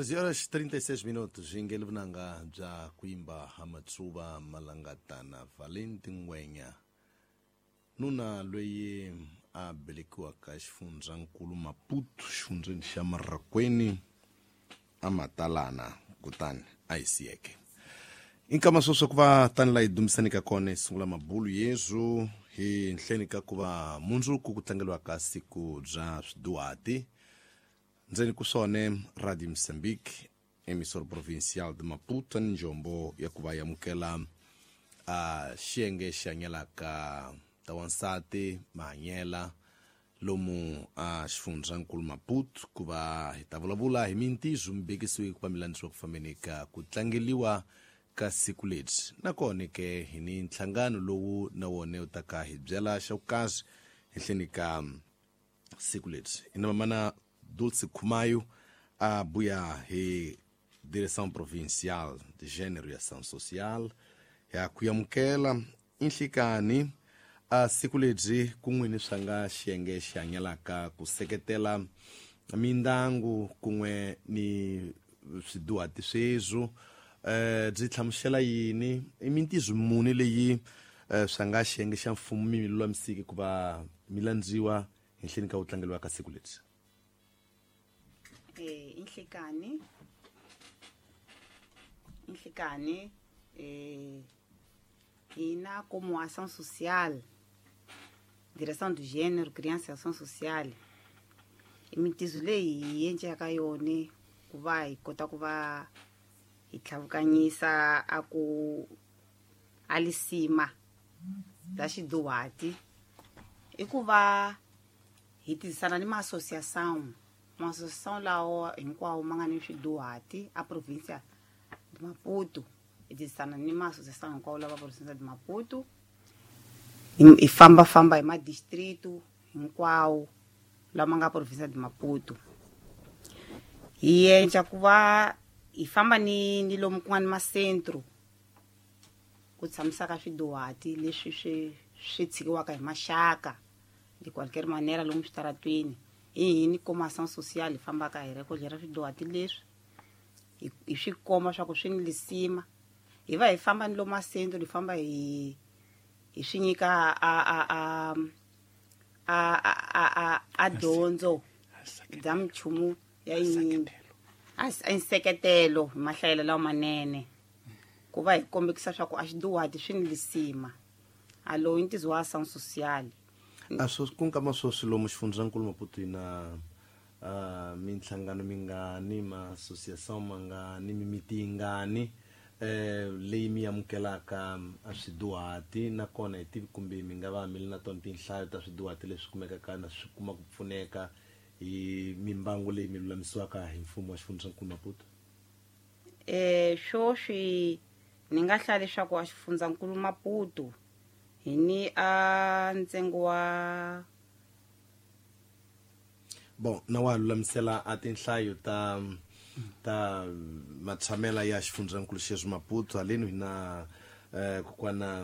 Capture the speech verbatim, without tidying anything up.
treze horas trinta e seis minutos, ingele vunanga bya kuimba ha matsuva malangatana Valente Ngwenya, nuna loyi a velekiwaka xifundzankulu Maputo, xifundzeni xa Marracuene, a matalana kutani a yi siyeke. Inkama sweswo ku va tani la hi dumisani ka kona hi sungula mabulu yezu hi nhleni ka ku va mundzuku ku tlangeliwaka siku bya swiduhati. Ndzeni ku swone Radio Moçambique, emissora provincial de Maputo, ni njombo ya ku va yamukela a xiyenge xi hanyelaka ta wansati mahanyela lomu a xifundzankulu Maputo, ku va hi ta vulavula hi mintizo mi bekisiwe ku va mi landzisiwa ku fambeni ka ku tlangeliwa ka siku lebyi. Nakona ke hi ni nhlangano lowu na wona wu ta ka hi byela xa vukazi henhleni ka siku lebyi. I na mamana Dulce Khumayo a buya hi Direção Provincial de Gênero e Ação Social ya ku amukela inhlikani a siku lebyi kun'we ni swa nga xiyenge xi hanyelaka ku seketela mindyangu kun'we ni swiduhati sweswo. eh byi hlamusela yini? I mintizo muni leyi eh, swa nga xiyenge xa mfumo mi lulamisiki ku va mi landziwa henhleni ka ku tlangeliwa ka siku lebyi? eh inhlikani inhlikani eh hina como ação social, Direção do Gênero, Criança e Ação Social, imitizo leyi hi endlaka yona ku va hi kota ku va hi tlhavukanyisa a ku a lisima bya xiduhati i ku va hi tirhisana ni ma-associação ma-associação lawa hinkwawo ma nga ni swiduhati a província de Maputo. Hi tirhisana ni ma-associação hinkwawo lava província de Maputo, hi hi fambafamba hi madistrito hinkwawo lama nga província de Maputo. Hi endla ku va hi famba ni ni lomu ku nga ni macentro ku tshamisaka swiduhati leswi swi swi tshikiwaka hi maxaka de qualquer manera lomu switaratweni. Hi hini como ação social hi fambaka hi rekolhera swiduhati leswi, hi hi swi komba swa ku swi ni lisima. Hi va hi famba ni lomu macentro, hi famba hi hi swi nyika a a a a a a a dyondzo bya minchumu ya yinyingi, a nseketelo hi mahlayelo lawa manene, ku va hi kombekisa swa ku a xiduhati swi ni lisima. A lowu i ntizo wa ação social. A swo ku nkama sweswi lomu xifundzankulu Maputo hi na uh, minhlangano mingani, ma-associação mangani, mimiti yingani eh leyi mi amukelaka a swiduhati? Nakona hi tivi kumbe mi nga va mi ri na tona tinhlayo ta swiduhati leswi kumekaka na swi kuma ku pfuneka hi mimbangu leyi mi lulamisiwaka hi mfumo wa xifundzankulu Maputo? eh swoswi ni nga hlaya leswaku a xifundzankulu Maputo hi ni a ntsengo wa Bon, na wa lulamisela a tinhlayo ta ta matshamela ya xifundzankulu xexo Maputo haleni hi na eh kokwana.